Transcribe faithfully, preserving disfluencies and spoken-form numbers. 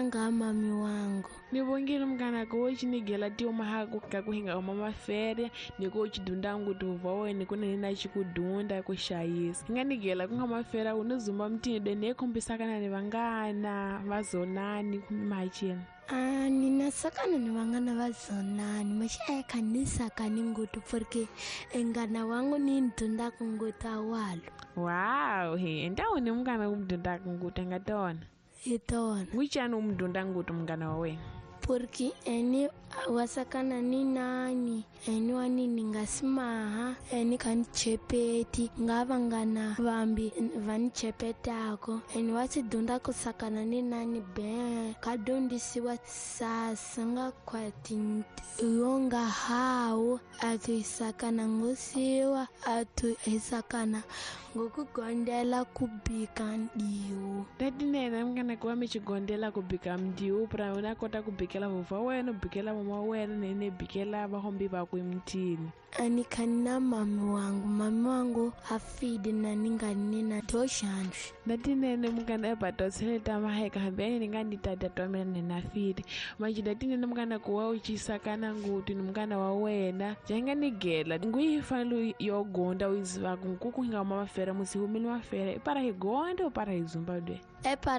Nga mami wangu. Ni vongile munghana ku wo cinigela tiuma ka ku hinga huma mafere ni ku chidunda ngutu va wena ku nene na xikudunda ku xayisa. Hi nga nigela ku nga mafere u ni zumba mutini de ne khombisakana ni vangana va zonani kumbe mahachini. Ah, ninasakana ni vangana va zonani maxa khanisakani ngutu porque engana wangu ni ndunda kunguta walo. Wow, he entawu ni munghana ku mdunda kunguta nga tona. Itona. Wichani umdunda ngutu munghana wa wena? Porque eni wasakana ni nani eni wanini ngasimaha eni kanichepeti nga vangana vambi vanichepetako eni wasidunda kusakana ni nani be kadundisiwa sasa nga kwati yonga hawu atuisakana ngosiwa atuisakana ngokugondela kubika ndiwo. Tatinene munghana ku wa mi xigondela ku bika mdiwo pra una kota ku bikela vovha wena u bikela mama wena nene bikela vahombi vakwe emutini. Anikhanina mami wangu mami wangu afide na ninganina toshanjwe. Datinene munghana ebatosele ta maheka hambi ni nga ni tata twa mina nena fide manje datinene munghana ku wa u cisakana ngutu ni munghana wa wena janga ni gela nguyi fanele yo gonda u yizivaku nkuku hi nga huma mafere musi humile mafere i para hi gonda u para hi zumba dwe. E para